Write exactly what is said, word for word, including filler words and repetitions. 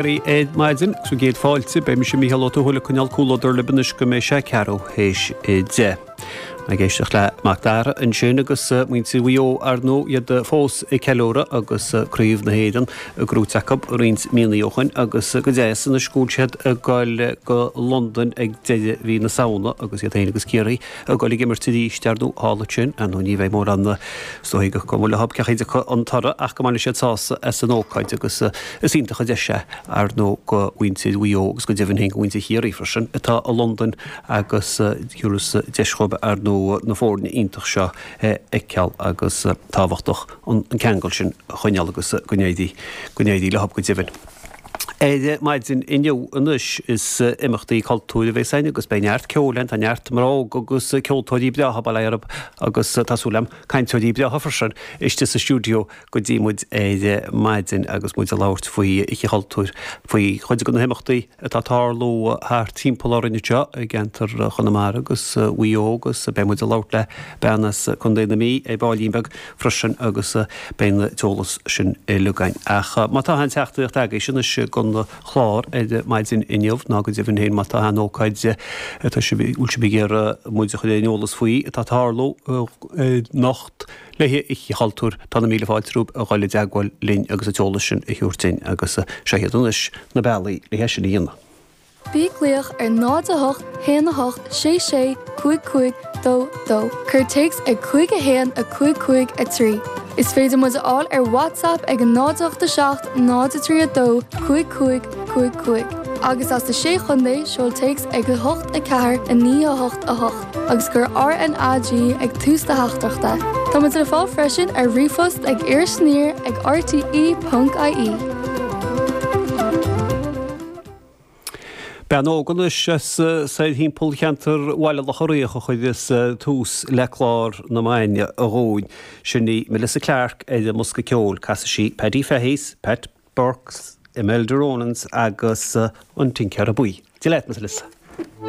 Ar maidin sa gcéad fáilte, beidh mise Mícheál Ó Tuathail ag coinneáil comhluadar libh anois go mbeidh sé ceathrú théis a deich. Ag éisteacht le Mac Dara ansin agus muintir Mhaigh Eo ar ndóigh iad fós ag ceiliúradh agus Craobh na hÉireann gnóthaithe acu roinnt míonna ó shin agus go deas anois go bhfuil siad ag dul go Londain ag deireadh mhí na Samhna agus iad féin agus Ciarraí ag dul ag imirt arís ar ndóigh thall ansin ar ndóigh ní bheidh mórán is dóigh go bhfuil a fhios cén chaoi an toradh ach go mbainfidh siad sásamh as an ócáid agus is iontach an deis é ar ndóigh do mhuintir Mhaigh Eo agus go deimhin féin do mhuintir Chiarraí freisin atá i Londain agus thiúrfas deis dhóibh ar ndóigh na foirne iontach seo a fheiceáil agus tábhachtach an ceangal sin a choinneáil agus go n-éirí go n-éirí leo go deimhin. Ar maidin inniu anois is imeachtaí cultúir a bheas againn agus beidh neart ceoil ann, tá neart mná óga agus ceoltóirí breátha bail ó Dhia orthu agus tá súil agam cainteoirí breátha freisin istigh sa stiúideo go dtí muid ar maidin agus muid ag labhairt faoi Oíche Chultúir, faoi chuid de na himeachtaí atá ag tarlú thart timpeall orainn anseo i gceantar Chonamara agus Mhaigh Eo agus beidh muid ag labhairt le bean as Contae na Mí ar baillín beag freisin agus beidh an t-eolas sin uilig againn. Ach má tá aon teachtaireacht agaibhse anois don chlár ar maidin inniu ná go deimhin féin má tá aon ócáid atá sibh bhfuil sibh ag iarraidh muid a chur ar an eolas faoi atá ag tarlú anocht le hOíche Chultúir tá na míle fáilte romhaibh a dhul i dteagmháil linn agus an t-eolas sin a thabhairt dúinn agus seo iad anois na bealaí le é sin a dhéanamh. Bí ag glaoch ar náid a hocht, haon a hocht, sé sé, cúig cúig, dó dó. Cuir téacs ag cúig a haon, a cúig cúig, a trí. Is féidir muid a fháil ar WhatsApp ag a náid ocht a seacht, náid a trí a dó, cúig cúig, cúig cúig. Agus as na Sé Chontae, seol téacs ag a hocht a ceathair, a naoi a hocht a hocht agus cuir R N A G ag tús do theachtaireachta. Tá muid le fáil freisin ar ríomhphost ag irisaniar ag R T E ponc I E. Bean óg anois as soir thimpeall cheantar Bhaile Locha Riach a chuireas tús le clár na maidine dhúinn. Sin í Melissa Clark ar an mbosca ceoil. Casfaidh sí Paddy Fahy's, Pat Burke's, Imelda Ronan's agus an Tincéara Buí. Dia leat, Melissa.